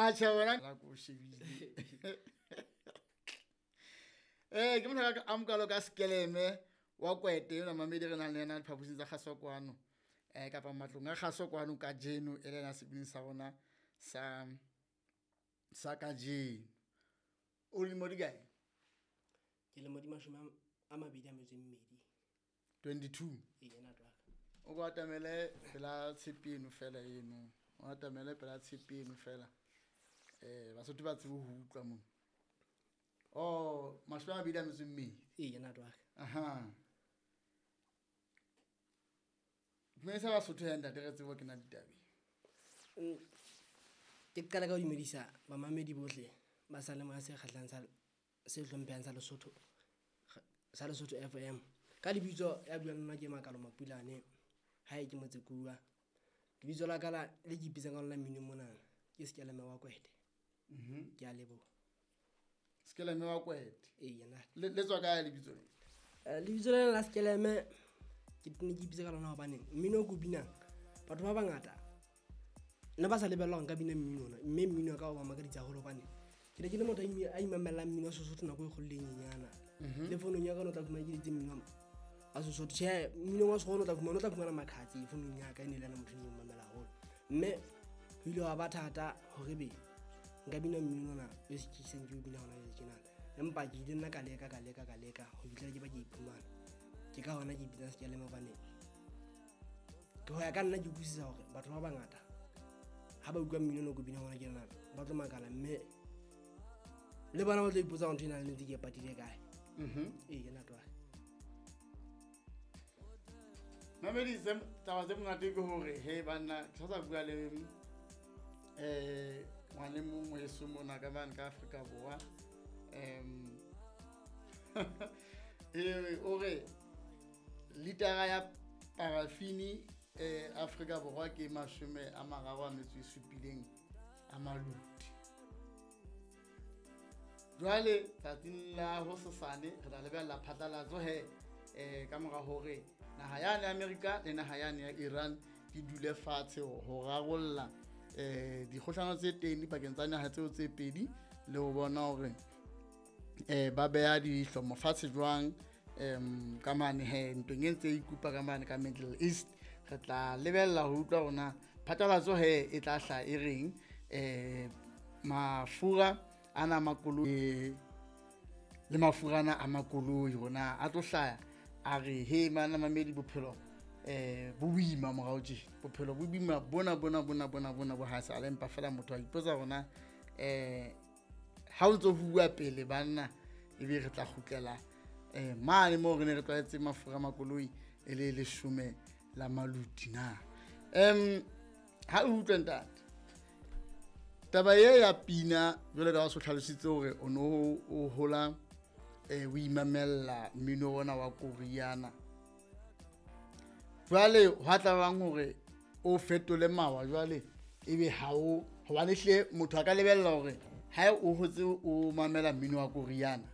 Atjhe wena la ko shebile. Ke motho a mokalo ka Skeleme wa Kwete yona mamedi re nang le yena diphaposing tsa kgaso kwano. Kapa matlong a kgaso kwano kajeno e le yena sebini sa rona sa kajeno. O lemo di kae? Ke lemo di 24. 22. Ee, ntate wa ka. O ko atamele pela tshepe eno fela eno. O atamele pela tshepe eno fela. Basotho ba tsebe ho utlwa mona. Oh, 22. Ee, ntate wa ka. Aha. Dumedisa Basotho ya ntate re tsebe ho kena ditabeng. Ke qala ka ho dumedisa bamamedi bohle ba sa le se kgahlang sa se hlomphehang sa Lesotho, sa Lesotho FM. Ka lebitso ya buang nna ke Makalo Mapulane, hae ke Motsekuwa. Lebitso la ka la le ke ipitsang ka lona mminong mona ke Skeleme wa Kwete. Ke a leboha. Skeleme wa Kwete. Ee, nna. Le tswa kae lebitso le? Lebitso lena la Skeleme ke ne ke ipitsa ka lona hobane mmino o ko binang batho ba bangata nna ba sa lebella hore nka bina mmino ona, mme mmino wa ka o ba makaditse haholo hobane ke ne ke le motho a imamellang mmino wa Sesotho nako e kgolo le e nyenyana. Le founung ya ka o tla fumana ke letse mmino wa Sesotho. Tjhe, mmino wa sekgowa o tla fumana makhatsi founung ya ka, e ne le yena motho e mamela haholo. Mme ho ile hwa ba thata hore be nka bina mmino ona o ke seng ke o bina hona jwale tjena. Empa ke ile nna ka leka ka leka ka leka ho fihlela ke ba ke iphumana. Ke ka hona ke ipitsang Skeleme hobane ke ho ya ka nna ke utlwisisa hore batho ba bangata ha ba utlwa mmino ona o ko binang hona tjena ba tlo makala, mme le bona ba tlo ipotsa hore ntho ena le ntse ke e patile kae. Ee, ntate wa ka. Mamedi, taba tse monate ke hore he banna ke sa bua le ngwane mong weso mona ka mane ka Afrika Borwa. O re litara ya parafini Afrika Borwa ke 37 a maluti. Jwale tsatsing la hosasane re tla lebella phatlalatso he ka mora hore naha yane ya Amerika le naha yane ya Iran di dule fatshe ho rarolla dikgohlano tse teng dipakeng tsa naha tseo tse pedi, le ho bona hore ba beha dihlomo fatshe jwang ka mane he ntweng e ntse e ikupa ka mane ka Middle East. Re tla lebella ho utlwa hore phatlalatso he e tla hlaha e reng mafura ana makoloi le mafura ana a makoloi hore a tlo hlaha a re he mana mamedi bophelo bo boima morao tje, bophelo bo boima bona bona bona bona bona bo ha sale, empa fela motho a ipotsa hore ha o ntso bua pele banna ebe re tla kgutlela mane moo re ne re tlwaetse mafura a makoloi e le 10 la maluti na. Ha o utlwe ntate taba e ya pina jwale ka o hlalositse hore o no o hola o imamella mmino ona wa Koreana. Jwale hwa tla bang hore o fetole mawa jwale ebe ha o hobane hle motho a ka lebella hore ha o hotse o mamela mmino wa Koreana,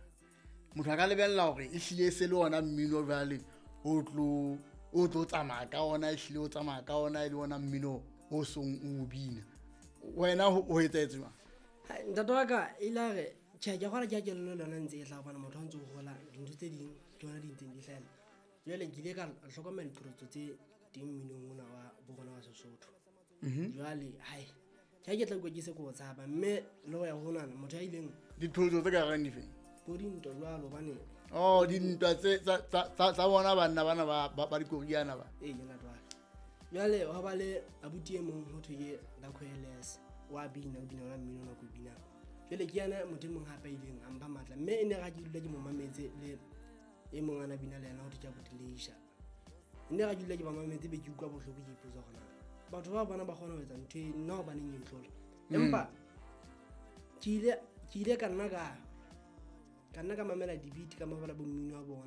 motho a ka lebella hore e hlile se le ona mmino jwale o tlo tsamaya ka ona, e hlile o tsamaya ka ona e le ona mmino o song o bina. Wena ho etsahetse jwang? Ntate wa ka ile a re tjhe, ke kgona ke a kelello le yona ntse e hlaha hobane motho ha ntse o hola dintho tse ding ke yona di ntseng di hlahella. Jwale ke ile ka hlokomela diqholotso tse teng mminong ona wa bo rona wa Sesotho. Jwale hai ke ha ke tla utlwa ke se ke o tshaba, mme le ho ya ho nana motho a ileng diqholotso tse ka reng difeng? Bo dintwa jwalo hobane oh dintwa tse tsa bona banna bana ba dikoriana ba. Ee, ntate wa ka. Jwale hwa ba le abuti e mong ho thwe ke Rakhoeles wa bina, o bina ona mmino ona ko binang. Jwale ke yena motho e mong hape a ileng a mpha matla, mme e ne re ha ke dula ke mo mametse le e mong ana bina le yena ho thwe ke abuti Leisha. E ne re ha ke dula ke ba mametse be ke utlwa bohloko, ke ipotsa hore na batho ba bona ba kgona ho etsa ntho e nna hobaneng e ntlola. Empa ke ile ka nna ka mamela di-beat, ka mamela bo mmino wa bona.